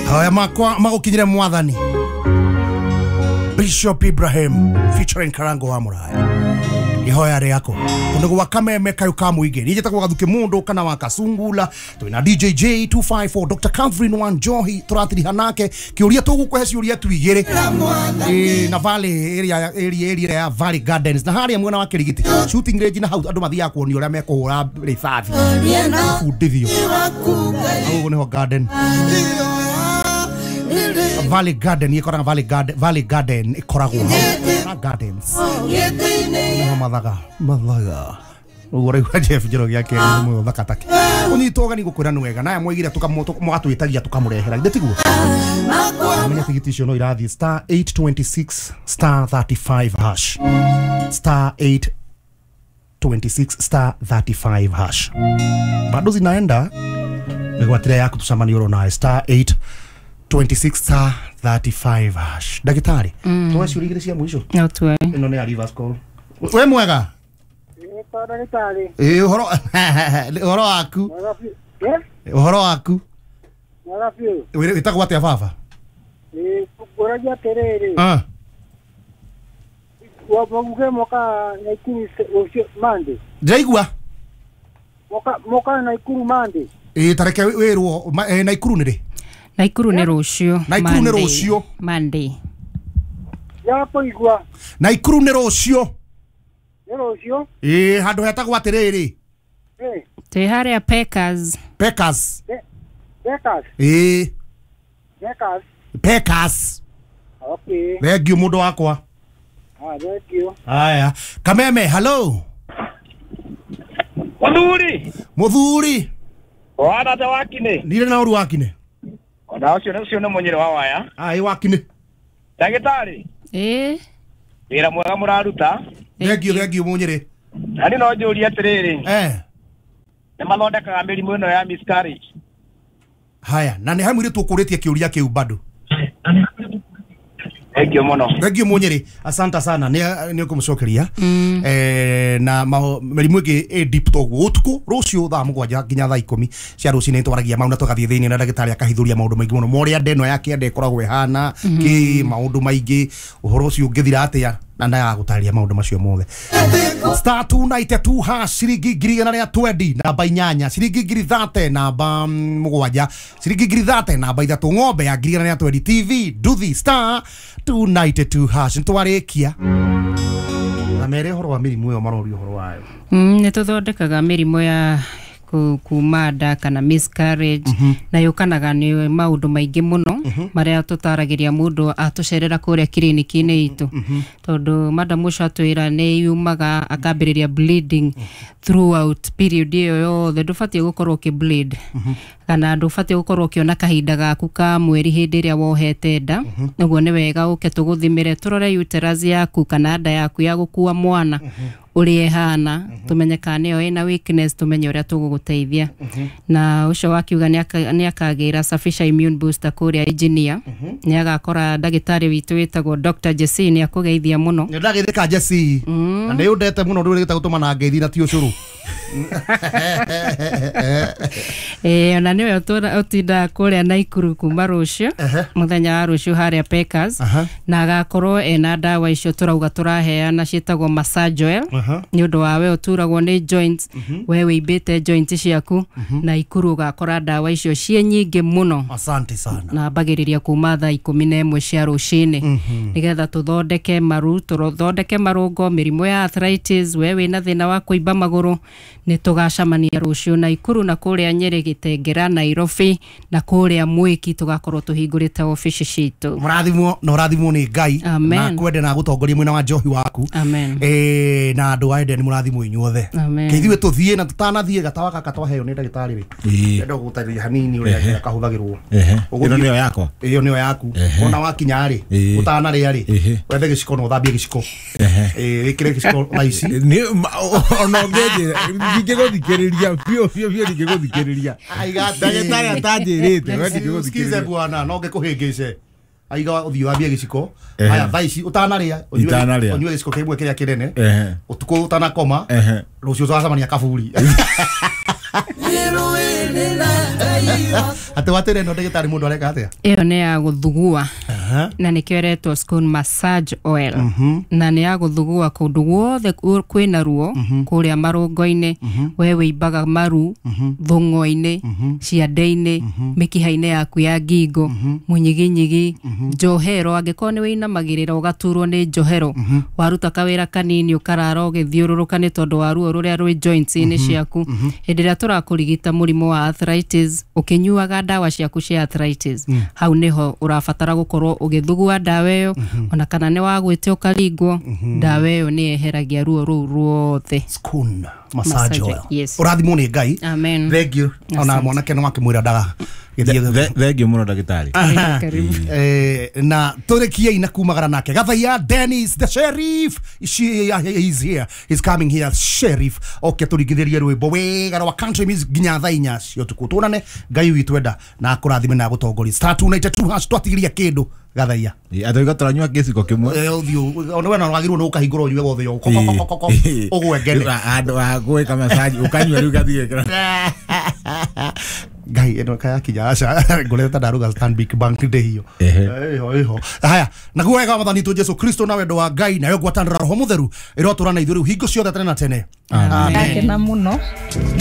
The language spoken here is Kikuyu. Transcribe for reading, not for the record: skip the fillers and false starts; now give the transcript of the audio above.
Haya makwa magukinyire mwathani. Bishop Ibrahim featuring Karango wa Muraya. Ihoya rĩako kundu gwa Kameme kayu ka muingi ni njĩtagwo Gathuki Mundu kana wa Kasungula twina DJJ 254 Dr. Catherine Wanjohi turatiriha nake kiuria tugukũhe ciuria tu igĩrĩ na Valley area area area ya Valley Gardens na haria mwena wa Kirigiti shooting range na hau andu mathiaga kuonio ũrĩa mekũhũra rithathi bundithio hau nĩho garden Valley Garden ikoragwo Valley Garden Valley Garden ikoragwo na gardens mathaga mathaga uguo raigua Jeff Njoroge akĩra nĩ mũthaka take ũnyitwo ũgeni gũkwĩra nĩ wega naye mwaigire mũgatwĩtagia tũkamũrehera githĩ tiguo menya tigiti icio no irathiĩ star 826 star 35 hash star 826 star 35 hash bado zinaenda mĩgwatĩre yaku tũcemanie oro nawe star 826 star 35 hash. Ndagĩtarĩ tuoe ciũria igĩrĩ cia mũico no tuoe ĩno nĩ ya reverse call. We mwega? Ĩĩ ũhoro ũhoro waku? Ũhoro waku? Wĩtagwo atĩa baba? Ngũragia atĩrĩrĩ. Wabuge moka Naikuru ũcio Monday. Ndĩraigua. Moka Naikuru Monday. Ĩĩ tareke wĩrwo Naikuru nĩ rĩ? Naikuru nĩ rũciũ. Naikuru nĩ rũciũ. Monday. Ya kũigua. Naikuru nĩ rũciũ. Nĩ rũciũ? Ĩĩ handũ hetagwo atĩrĩrĩ. Twĩ harĩa Peckers. Peckers. Peckers. Ĩĩ. Peckers. Peckers. Okay. Thank you mũndũ wakwa. Ah, thank you. Haya. Kameme, hello. Muthuri. Muthuri. Wana ta wakine. Nire na ũru wakine. Ona ũcio nĩ mũnyĩrĩ wa waya. Ah, ĩ wakine. Ndagĩtarĩ. Ĩĩ. Wĩra mwega mũraruta. Thank you, thank you mũnyĩrĩ. Na niĩ no njũrie atĩrĩrĩ. Nĩ mathondekaga mĩrimũ ĩno ya miscarriage? Haya, na nĩ he mũirĩtu ũkũrĩtie kĩũria kĩu bado. Thank you mũno. Thank you mũnyĩrĩ. Asante sana nĩ ũkũmũcokeria. Na mĩrimũ ĩngĩ ĩ deep toguo ũtukũ rũciũ thaa 7 nginya thaa 10 cia rũcinĩ twaragia mau na tũgathiĩ thĩinĩ na ndagĩtarĩ akahithũria maũndũ maingĩ mũno morĩa nda ĩno ya kĩanda ĩkoragwo ĩhana kĩ maũndũ maingĩ ũhoro ũcio ũngĩthira atĩa na ndagagũtarĩria maũndũ macio mothe. Star 292 hash ciringi 120 namba 8 ciringi 30 namba 7 ciringi 30 namba 3 ng'ombe ya 120 TV nduthi star 292 hash nĩtwarĩkia na mere ũhoro wa mĩrimũ ĩyo maroria ũhoro wayo. Nĩ tũthondekaga mĩrimũ ya kuma nda kana miscarriage na yũkanaga nĩ maũndũ maingĩ mũno marĩa tũtaragĩria mũndũ atũcerera kũrĩa kiriniki-inĩ itũ tondũ madam ũcio atwĩra nĩ yumaga akambĩrĩria bleeding throughout period ĩyo yothe ndũbatiĩ gũkorwo ũkĩ bleed kana ndũbatiĩ gũkorwo ũkĩona kahinda gaku ka mweri hĩndĩ ĩrĩa wohete nda ũguo nĩ wega ũke tũgũthimĩre tũrore uterus yaku kana nda yaku ya gũkua mwana ũrĩa ĩhana tũmenye kana nĩyo ĩna weakness tũmenye ũrĩa tũgũgũteithia na ũcio wakiuga nĩ akagĩra Safisha immune booster kũrĩa engineer nĩ agakora ndagĩtarĩ witũ wĩtagwo Dr. Jesse nĩ akũgeithia mũno. Nĩ ndagĩthĩka Jesse na nĩ ũndete mũno ndũrĩgĩte gũtũma na ngeithi na ti ũcũrũ. Ona nĩwe ũtindaga kũrĩa Naikuru kuma rũciũ mũthenya wa rũciũ harĩa Peckers na agakorwo ena ndawa icio tũrauga tũraheana ciĩtagwo massage oil nĩ ũndũ wa we ũturagwo nĩ joints we wĩimbĩte joints ciaku Naikuru ũgakora ndawa icio ciĩ nyingĩ mũno. Asante sana. Na mbagĩrĩria kuma thaa 11 cia rũcinĩ nĩgetha tũthondeke maru tũthondeke marũngo mĩrimũ ya arthritis we wĩna thĩna wa kũimba magũrũ nĩ tũgacemania rũciũ Naikuru na kũrĩa Nyĩrĩ Gĩtengera Nairobi na kũrĩa Mwĩki tũgakorwo tũhingũrĩte obici citũ. Mũrathimwo na ũrathimwo nĩ Ngai na kwende na gũtongoria mwena wa njohi waku. Na andũ a Eden mũrathimwo inyuothe. Kĩithuĩ tũthiĩ na tũtanathiĩ gatawa gaka twaheo nĩ ndagĩtarĩ rĩ ndenda gũgũtarĩria hanini ũrĩa kahũthagĩrwo. Ĩno nĩyo yakwa? Ĩyo nĩyo yaku. Ona wakinya rĩ ũtanarĩa rĩ wethe gĩciko na ũthambie gĩciko wĩkĩre gĩciko thaa ici ona ũngĩnjĩra ndingĩgũthikĩrĩria biũ biũ biũ ndingĩgũthikĩrĩria ndagĩtarĩ atanjĩrĩte we ndingĩgũthikĩrĩria. Sikize bwana no ngĩkũhĩngĩce aiga ũthiĩ wambie gĩciko haya thaa ici ũtanarĩa ũnyue gĩciko kĩmwe kĩrĩa kĩnene ũtukũ ũtanakoma rũciũ tũgacemania kaburi. Atĩ watĩre ĩno ndagĩtarĩ mũndũ areka atĩa? Ĩyo nĩ ya gũthugua na nĩkĩo ĩretwo scone massage oil, na nĩ ya gũthugua kũndũ guothe kwĩna ruo, kũrĩa marũngo-inĩ, we wĩimbaga maru, thũng'wa-inĩ, ciande-inĩ, mĩkiha-inĩ yaku ya ngingo, mũnyiginyigi, njohero, angĩkorwo nĩ wĩinamagĩrĩra ũgaturwo nĩ njohero, waruta kawĩra kanini ũkarara ũgĩthiũrũrũka nĩ tondũ wa ruo rũrĩa rwĩ joints-inĩ ciaku. Hĩndĩ ĩrĩa tũrakũrigita mũrimũ wa arthritis, ũkĩnyuaga ndawa ciaku cia arthritis, hau nĩho ũrabatara gũkorwo ũgĩthugua ndawa ĩyo, ona kana nĩ wagwĩte ũkaringwo, ndawa ĩyo nĩ yeheragia ruo rũu ruothe. Scone massage Massage oil. Yes. Ũrathimwo nĩ Ngai. Amen. Thank you. Ona Asante. mwanake no akĩmwĩra ndaga gĩthiĩ. Thengio mũno ndagĩtarĩ. Karibu. Na tũrĩkiei na kumagara nake Gathaiya Dennis the sheriff. He's here, he's coming here, sheriff oke tũringithĩrie rwĩmbo wega rwa country music nginya thaa 4 cia ũtukũ. Tuonane, Ngai witũ enda na akũrathime na agũtongorie. *292# twatigiria kĩndũ Gathaiya. Atauga tũranyua gĩciko kĩmwe. Ũthiũ ona we no wagĩrĩirwo nĩ ũkahingũra ũnyue wothe ũũ ũgwengene. Handũ ha gwĩka massage ũkanyua rĩu gathiĩ gĩkĩra. Ngai ĩno kayakinya aca ngorete ndaruga Stanbic Bank ndĩhio. Ehe. Ĩho ĩho haya, naguo wega wa mwathani witũ Jesu Kristo na wendo wa Ngai nayo ngwatanĩro ya Roho Mũtheru ĩrotũra na ithuĩ rĩu hingo ciothe tene na tene. Amen. Ndakena mũno.